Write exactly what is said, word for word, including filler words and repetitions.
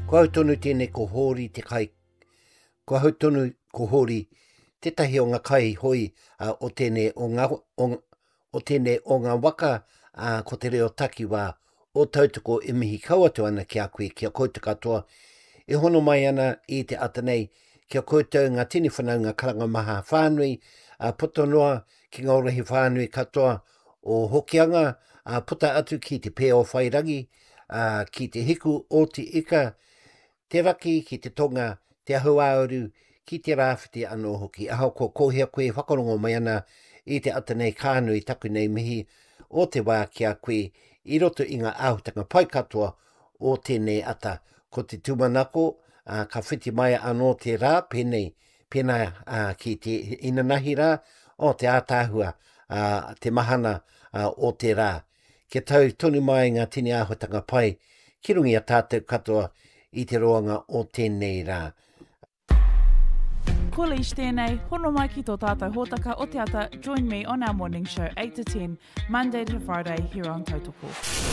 Ko au tonu tēnei ko Hōri te kai, ko ahau tonu ko Hōri tētahi o ngā kaihoe uh, o tēnei o ngā, o, o tēnei o ngā waka uh, ko te reo takiwā o Tautoko e mihi kau atu ana ki a koe, ki a koutou katoa. E hono mai ana i te ata nei, ki a koutou ngā tini whanaunga karanga maha whānui, uh, puta noa ki ngā rohe whānui katoa o Hokianga, uh, puta atu ki te Pēwhairangi, uh, ki te hiku o te ika, te raki ki te tonga, te hauāuru, ki te rāwhiti anō hoki. Ahakoa ko hea koe whakarongo mai ana i te ata nei ka nui taku nei mihi o te wā ki a koe i roto i ngā āhutanga pai katoa o tēnei ata. Ko te tūmanako, uh, ka whiti mai anō te rā, pēnei, pēnā uh, ki te inanahi rā, o te ātaahua, uh, te mahana uh, o te rā. Kia tau tonu mai ngā tini āhutanga pai ki runga i a tātou katoa i te roanga o tēnei rā. Ko Leish tēnei, hono mai ki tō tātou hōtaka o te ata, join me on our morning show eight to ten, Monday to Friday here on Tautoko.